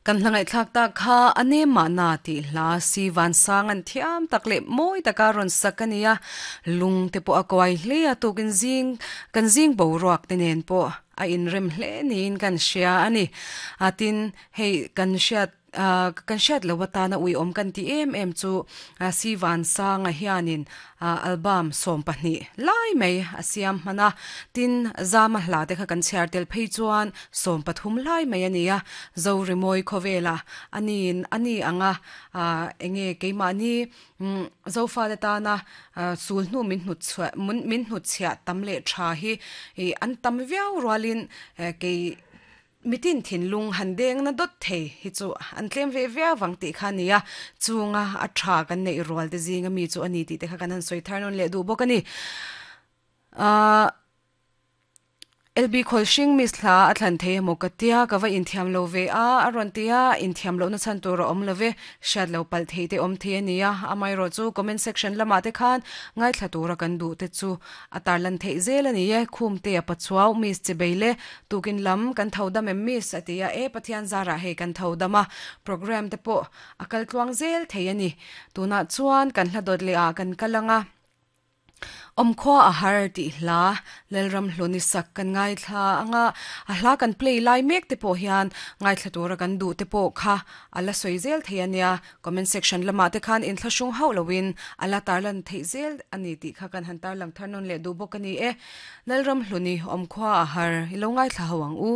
Kan hla ngaihthlak tak kha a nem mahna tih hla si vansang an thiam tak leh mawi taka rawn sak a ni a, lung te pawh a kuai hle a, tukin zing kan zing boruak te nen pawh a inrem hle niin kan hria a ni. A tin, hei kan hriat kan hriat loh atana uiawm kan tih em em chu si vansanga hianin Album 12 lai mai a siam hman a, tin, Zama hla te kha kan chhiar tel phei chuan 13 lai mai a ni a, Zorimawi khawvela a niin a ni ang a, enge keimahni Zofate tana sul hnu min hnutchhuah min hnutchhiah tam leh tha hi an tam viau rualin kei Mitin thinlung han deng na dawt thei hi chu an tlem ve viau vang tih kha a ni a, chunga a tha kan neih rual te zinga mi chu a ni tih te kha kan han sawi thar nawn leh duh bawk a ni. Ahh LB Khawlhring Miss hla a thlan thei emaw ka tia, ka va inthiam lo ve a, a rawn ti a, inthiam lohna chhan tur a awm lo ve, hriat lo palh thei te awm thei a ni a, amaherawh chu comment section lamah te khan ngaithla tura kan duh te chu A tarlan theih zel a ni e, Khumtea Pachuau, Miss Chibeile, tukin lam kan tho dam em Miss? a ti a, e Pathian zarah hei kan tho dam a, programme te pawh a kal tluang zel thei a ni. Tunah chuan kan hla dawt leh ah kan kal ang a, Awmkhua a har tih hla Lalram Hluni sak kan ngaithla ang a, a hla kan play lai mek te pawh hian ngaithla tura kan duh te pawh kha a la sawi zel thei a nia. Comment section lamah te khan inthlahrung hauh loin a la tarlan theih zel a ni tih kha kan han tarlang thar nawn leh duh bawk a ni e. Lalramhluni awmkhua a har i lo ngaithla ho ang u.